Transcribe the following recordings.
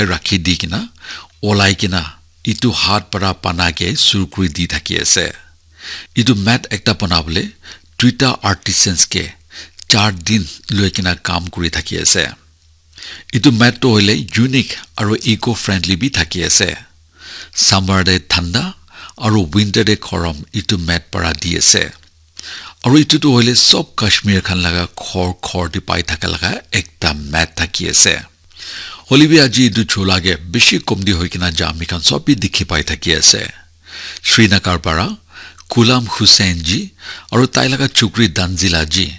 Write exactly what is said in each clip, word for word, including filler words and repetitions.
rakhi di kena, olai kena, itu hat para bana ke suru kuri di thaki ase. Itu mat ekta banabole duita artisans ke char din loi kena kam kuri thaki ase. Itu mat toh hoile unique aru eco-friendly bi thaki ase. Summer te thanda aru winter te gorom itu mat para di ase. Aru itu toh hoile sob Kashmir khan laga ghor ghor te pai thaka laga ekta mat thaki ase. Hoile bi aji itu chula ke bishi komti hoi kena ja ami khan sob bi dikhi pai thaki ase. Srinagar para Ghulam Hussain ji aru tai laga chukri Danzila ji,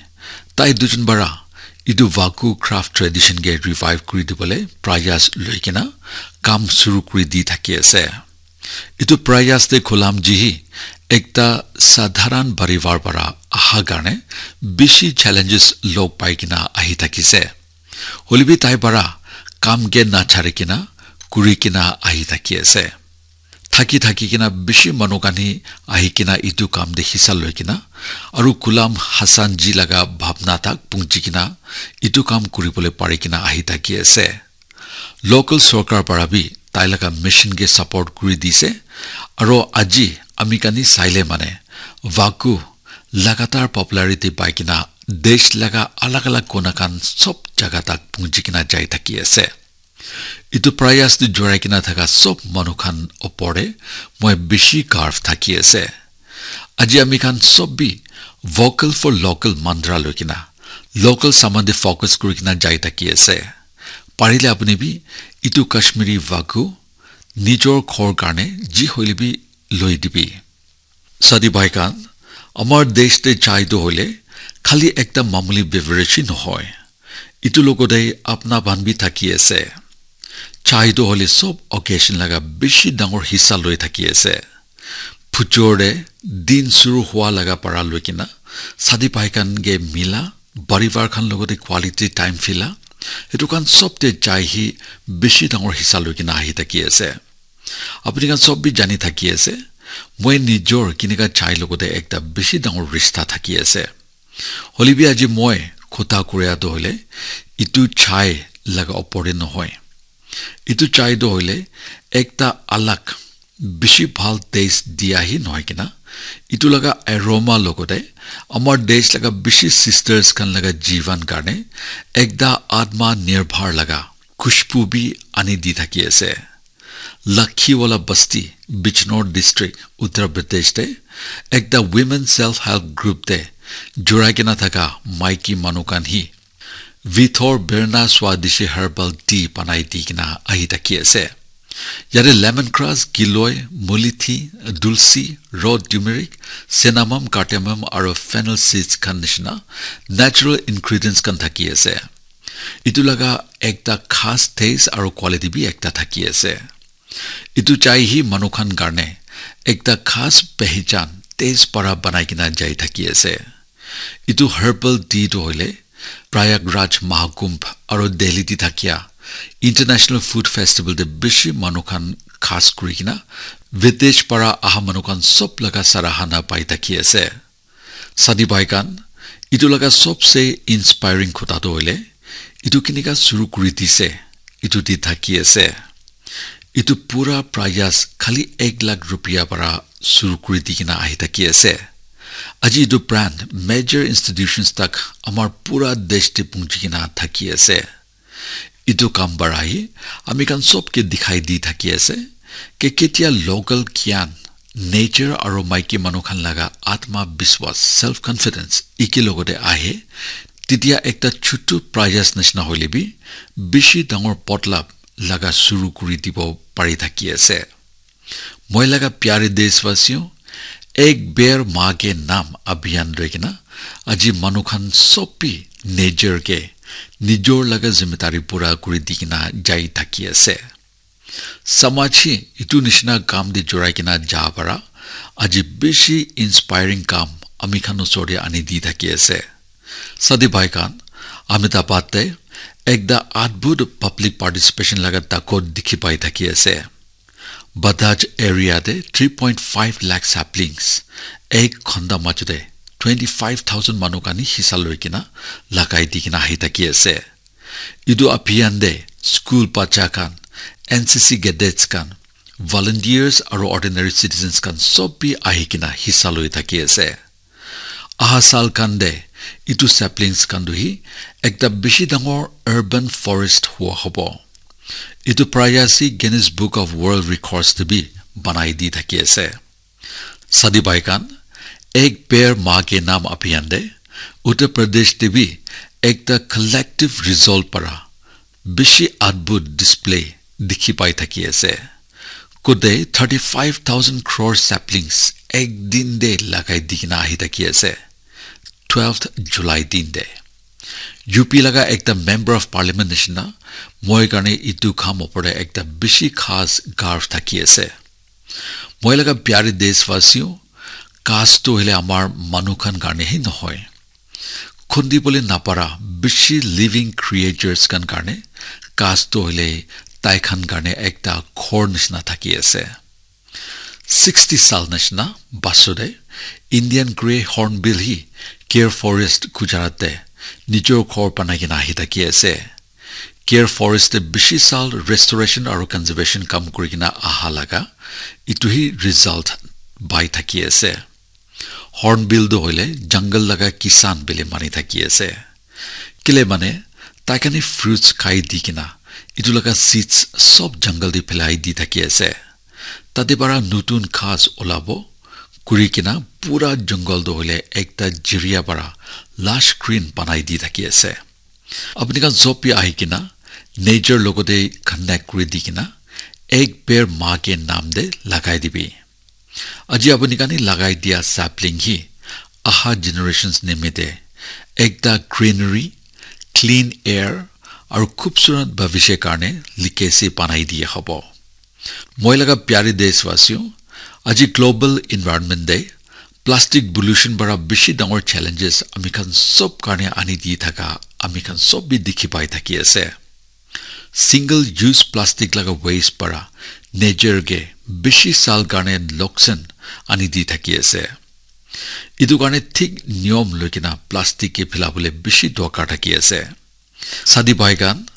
tai dujon para itu Vaku craft tradition ke revive kuri dibole prayas loi kena kam suru kuri di thaki ase. Itu prayas te Ghulam ji hi ekta sadharan parivar para aha karne bishi challenges log pai kena ahi thakise. Hoile bi tai para kam ke na chari kena kuri kena ahi thaki ase. Thaki thaki kena bishi manu khan hi ahi kena itu kam te hissa loi kena aru Ghulam Hassan ji laga bhabna tak punchi kena itu kam kuri bole pari kena ahi thaki ase. Local sorkar para bi tai laga mission ke support kuri dise. Aru aji ami khan hi saile mane Vaku lagatar popularity pai kena desh laga alag alag kona khan sob jaga tak punchi kena jai thaki ase. Itu prayas te jurai kena thaka sob manu khan opor te moi bishi garv thaki ase. Aji ami khan sob bi vocal for local mantra loi kena local saman te focus kuri kena jai thaki ase. Parile apuni bi itu Kashmiri Vaku nijor ghor karne ji hoile bi loi dibi. Sadi bhai khan, amar desh te chai toh hoile khali ekta mamuli beverage hi nohoi. Itu logote apna ban bi thaki ase. Chai toh hoile sob occasion laga bishi dangor hissa loi thaki ase. Phujor te din suru hua laga para loi kena sadi bhai khan ke mila parivar khan logote quality time phila, etu khan sob te chai hi bishi dangor hissa loi kena ahi thaki ase. Apuni khan sob bi jani thaki ase, moi nijor kinika chai logote ekta bishi dangor rishta thaki ase. Hoile bi aji moi khota kuria toh hoile itu chai laga opor te nohoi. Itu chai toh hoile ekta alag bishi bhal taste dia hi nohoi kena, itu laga aroma logote amar desh laga bishi sisters khan laga jivan karne ekta atma nirbhar laga khushbu bi ani di thaki ase. Lakhiwala Basti, Bijnor District, Uttar Pradesh te ekta women self help group te jurai kena thaka maiki manu khan hi Vithor Berna Swadeshi Herbal Tea banai di kena ahi thaki ase. Yate lemon grass, giloi, mulithi, dulsi, raw turmeric, cinnamon, cardamom aru fennel seeds khan nishina natural ingredients khan thaki ase. Itu laga ekta khas taste aru quality bi ekta thaki ase. Itu chai hi manu khan karne ekta khas pehchan taste para banai kena jai thaki ase. Itu herbal tea toh hoile Prayagraj Mahakumbh aru Delhi te thakia International Food Festival te bishi manu khan khas kuri kena videsh para aha manu khan sob laga sarahana pai thaki ase. Sadi bhai khan, itu laga sobse inspiring khota toh hoile, itu kinika suru kuri dise, itu di thaki ase. Itu pura prayas khali ek lakh rupia para suru kuri di kena ahi thaki ase. Aji itu brand major institutions tak amar pura desh te punchi kena thaki ase. Itu kam para hi ami khan sob ke dikhai di thaki ase ke ketia local gyan, nature aru maiki manu khan laga atma biswas, self confidence iki logote ahe, titia ekta chutu prayas nishina hoile bi bishi dangor pot lab laga suru kuri dibo pari thaki ase. Moi laga pyare deshwasiyo, Ek Baar Maa Ke Naam abhiyan loi kena aji manu khan sob bi nijor ke nijor laga zimmedari pura kuri di kena jai thaki ase. Samaj hi itu nishina kam te jurai kena ja para aji bishi inspiring kam ami khan osor te ani di thaki ase. Sadi bhai khan, Ahmedabad te ekta adbhut public participation laga dakot dikhi pai thaki ase. Badaj area te three point five lakh saplings ek ghonta majute twenty five thousand manu khan hi hisa loi kena lagai di kena ahi thaki ase. Itu abhiyan te school bacha khan N C C cadets khan, volunteers aru ordinary citizens khan sob bi ahi kena hissa loi thaki ase. Aha sal khan te etu saplings khan tu hi ekta bishi dangor urban forest hua hobo. Etu prayas hi Guinness Book of World Records te bi banai di thaki ase. Sadi bhai khan, Ek Ped Maa Ke Naam abhiyan te Uttar Pradesh te bi ekta collective resolve para bishi adbhut display dikhi pai thaki ase. Kote thirty five thousand crore saplings ek din te lagai di kena ahi thaki ase, twelfth July din te. U P laga ekta member of parliament nishina moi karne etu kam opor te ekta bishi khas garv thaki ase. Moi laga pyare deshwasiyo, ghas tu hoile amar manu khan karne hi nohoi. Khundi bole napara bishi living creatures khan karne ghas tu hoile tai khan karne ekta ghor nishina thaki ase. Sixty sal nishina basude Indian Grey Hornbill hi Gir Forest Gujarat te nijor ghor banai kena ahi thaki ase. Gir Forest te bishi sal restoration aru conservation kam kuri kena aha laga etu hi result pai thaki ase. Hornbill tu hoile jungle laga kisan bole mani thaki ase. Kile mane tai khan hi fruits khai di kena etu laga seeds sob jungle te phelai di thaki ase. Tate para nutun ghas olabo kuri kena pura jungle tu hoile ekta jiria para lush green banai di thaki ase. Apni khan sob bi ahi kena nature logote connect kuri di kena Ek Ped Maa Ke Naam te lagai dibi. Aji apni khan hi lagai dia sapling hi aha generations nimite ekta greenery, clean air aru khubsurat bhavishya karne legacy banai diya hobo. Moi laga pyare deshwasiyo, aji Global Environment Day, plastic pollution para bishi dangor challenges ami khan sob karne ani di thaka ami khan sob bi dikhi pai thaki ase. Single use plastic laga waste para nature ke bishi sal karne loksan ani di thaki ase. Etu karne thik niyom loi kena plastic ke phila bole bishi dorkar thaki ase. Sadi bhai khan,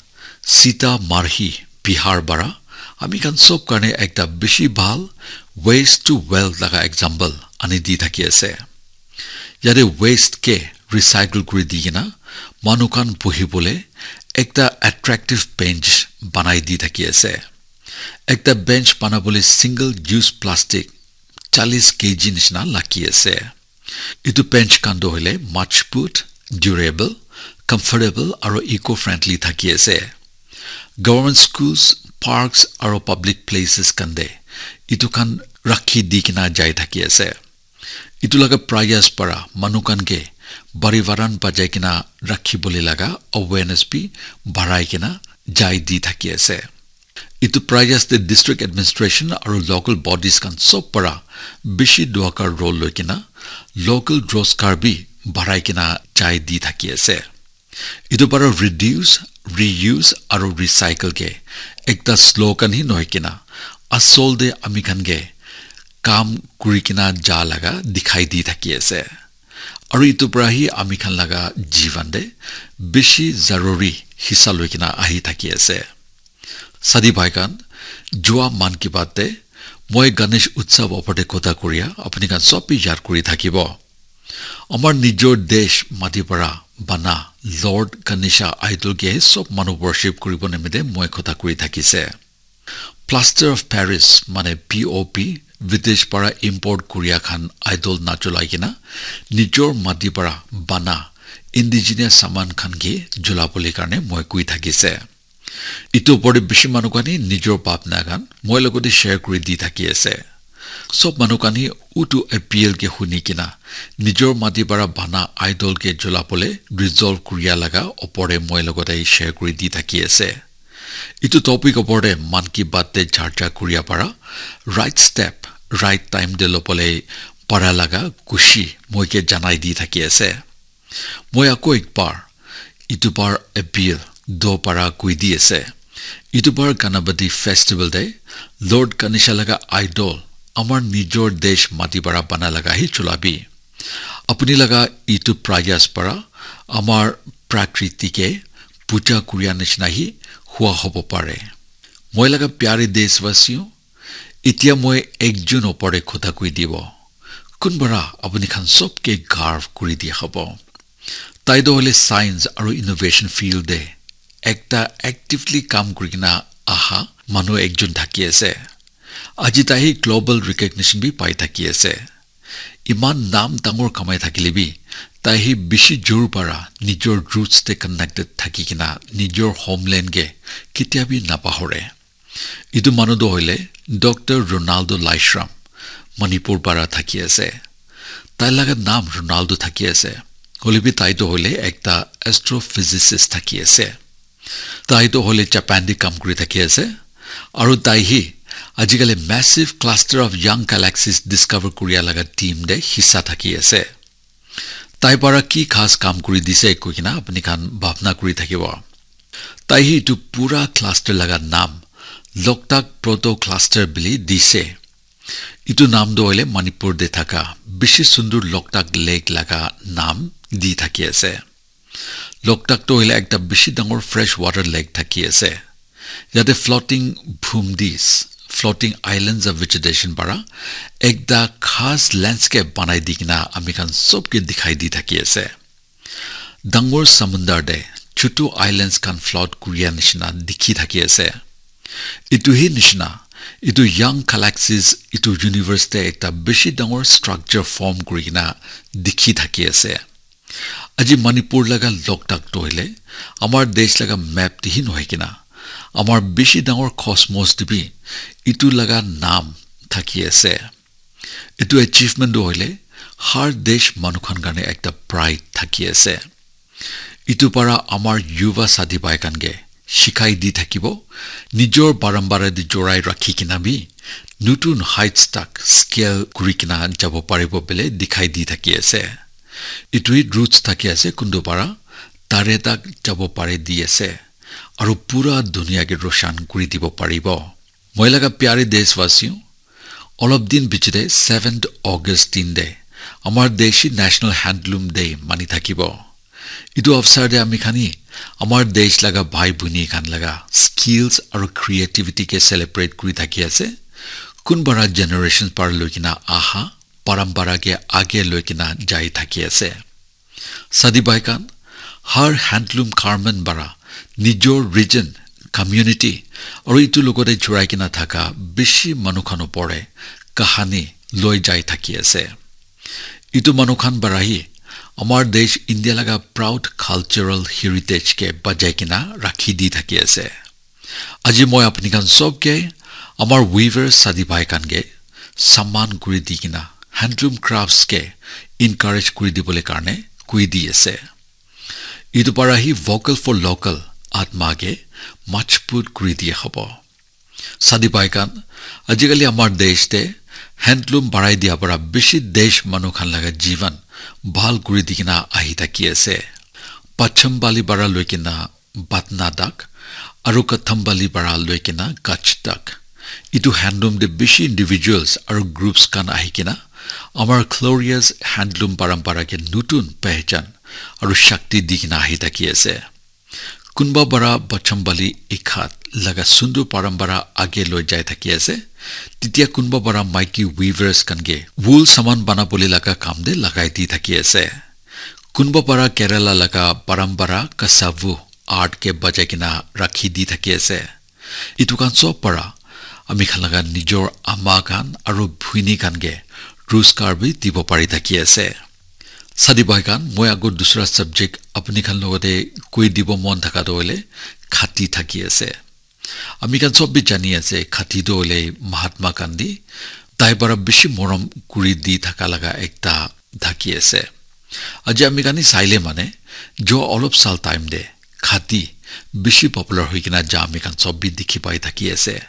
Sita Marhi, Bihar para, ami khan sob karne ekta bishi bhal waste to wealth laga example ani di thaki ase. Yate waste ke recycle kuri di kena manu khan buhi bole ekta attractive bench banai di thaki ase. Ekta bench bana bole single use plastic chalis K G nishina lagi ase. Etu bench khan tu hoile majbut, durable, comfortable aru eco-friendly thaki ase. Government schools, parks aru public places khan te etu khan rakhi di kena jai thaki ase. Etu laga prayas para manu khan ke bari varan bajai kena rakhi bole laga awareness bi barai kena jai di thaki ase. Etu prayas te district administration aru local bodies khan sob para bishi dorkar role loi kena local rozgar bi barai kena jai di thaki ase. Etu para reduce, reuse aru recycle ke ekta slogan hi nohoi kena asol te ami khan ke kam kuri kena ja laga dikhai di thaki ase. Aru etu para hi ami khan laga jivan te bishi zaruri hissa loi kena ahi thaki ase. Sadi bhai khan, jua Mann Ki Baat te moi Ganesh Utsav opor te kotha kuria apni khan sob bi yad kuri thakibo. Amar nijor desh mati para bana Lord Ganesha idol ke sob manu worship kuribo nimite moi kotha kuri thakise. Plaster of Paris mane P O P videsh para import kuria khan idol na cholai kena nijor mati para bana indigenous saman khan ke jula bole karne moi kui thakise. Etu opor te bishi manu khan hi nijor bhapna khan moi logote share kuri di thaki ase. Sob manu khan hi utu appeal ke huni kena nijor mati para bana idol ke jula bole resolve kuria laga opor te moi logote share kuri di thaki ase. Etu topic opor te Mann Ki Baat te charcha kuria para right step, right time te lobole para laga kushi moi ke janai di thaki ase. Moi ako ek bar, itu bar appeal do para kui di ase. Itu bar Ganapati festival te Lord Ganesha laga idol amar nijor desh mati para bana laga hi chulabi. Apuni laga itu prayas para amar prakriti ke puja kuria nishina hi hua hobo pare. Moi laga pyare deshwasiyo, etia moi ekjon opor te kotha koi dibo. Kunbara apuni khan sob ke garv kuri dia hobo. Tai toh hoile science aru innovation field te ekta actively kam kuri kena aha manu ekjon thaki ase. Aji tai hi global recognition bi pai thaki ase. Iman nam dangor kamai thakile bi, tai hi bishi jor para nijor roots te connected thaki kena nijor homeland ke ketia bi napahore. Etu manu toh hoile Doctor Ronaldo Laishram, Manipur para thaki ase. Tai laga nam Ronaldo thaki ase. Hoile bi tai toh hoile ekta astrophysicist thaki ase. Tai toh hoile Japan te kam kuri thaki ase. Aru tai hi ajikali massive cluster of young galaxies discover kuria laga team te hissa thaki ase. Tai para ki khas kam kuri dise koi kena apni khan bhabna kuri thakibo. Tai hi etu pura cluster laga nam Loktak Proto Cluster bili dise. Etu nam toh hoile Manipur te thaka bishi sundur Loktak Lake laga nam di thaki ase. Loktak toh hoile ekta bishi dangor fresh water lake thaki ase. Yate floating bhumdis, floating islands of vegetation para ekta khas landscape banai di kena ami khan sob ke dikhai di thaki ase. Dangor samundar te chutu islands khan float kuria nishina dikhi thaki ase. Etu hi nishina, etu young galaxies, etu universe te ekta bishi dangor structure form kuri kena dikhi thaki ase. Aji Manipur laga Loktak toh hoile amar desh laga map te hi nohoi kena, amar bishi dangor cosmos te bi etu laga nam thaki ase. Etu achievement toh hoile har desh manu khan karne ekta pride thaki ase. Etu para amar yuva sadi bhai khan ke shikai di thakibo, nijor parampara te jorai rakhi kena bi nutun heights tak scale kuri kena jabo paribo bole dikhai di thaki ase. Etu hi roots thaki ase kuntu para tare tak jabo pare di ase. Aru pura dunia ke roshan kuri dibo paribo. Moi laga pyare deshwasiyo, olop din pichete seventh August din te amar deshi National Handloom Day mani thakibo. Etu avsar te ami khan hi amar desh laga bhai bhuni khan laga skills aru creativity ke celebrate kuri thaki ase. Kunbara generations par loi kena aha parampara ke age loi kena jai thaki ase. Sadi bhai khan, har handloom garment bara nijor region, community aru etu logote jurai kena thaka bishi manu khan opor te kahani loi jai thaki ase. Etu manu khan bara hi amar desh India laga proud cultural heritage ke bajai kena rakhi di thaki ase. Aji moi apni khan sob ke amar weaver sadi bhai khan ke saman kuri di kena handloom crafts ke encourage kuri dibole karne koi di ase. Etu para hi vocal for local atma ke majbut kuri diya hobo. Sadi bhai khan, ajikali amar desh te handloom barai diya para bishi desh manu khan laga jivan bhal kuri di kena ahi thaki ase. Pacham Bali bara loi kena Batna tak, aru Kathambali bara loi kena Kutch tak. Etu handloom te bishi individuals aru groups khan ahi kena amar glorious handloom parampara ke nutun pehchan aru shakti di kena ahi thaki ase. Kunba bara Pacham Bali Ikhat laga sundur parampara age loi jai thaki ase. Titia kunba bara maiki weavers khan ke wool saman bana bole laga kam te lagai di thaki ase. Kunba bara Kerala laga parampara kasavu art ke bajai kena rakhi di thaki ase. Etu khan sob para ami khan laga nijor ama khan aru bhuini khan ke roskar bi dibo pari thaki ase. Sadi bhai khan, moi ago dusra subject apni khan logote koi dibo mon thaka toh hoile khati thaki ase. Ami khan sob bi jani ase, khati toh hoile Mahatma Gandhi, tai para bishi morom kuri di thaka laga ekta thaki ase. Aji ami khan hi saile mane, jo olop sal time te khati bishi popular hoi kena ja ami khan sob bi dikhi pai thaki ase.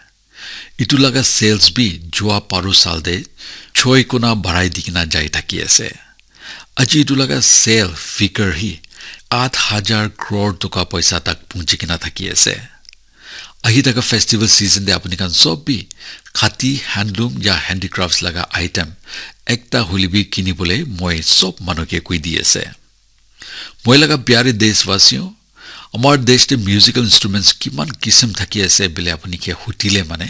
Etu laga sales bi jua paru sal te choi kona barai di kena jai thaki ase. Aji etu laga sale figure hi aat hajar crore toka paisa tak punchi kena thaki ase. Ahi thaka festival season te apni khan sob bi khati handloom ya handicrafts laga item ekta hoile bi kini bole moi sob manu ke koi di ase. Moi laga pyare deshwasiyo, Amar desh te musical instruments kiman kisim thaki ase bile apuni ke hutile mane,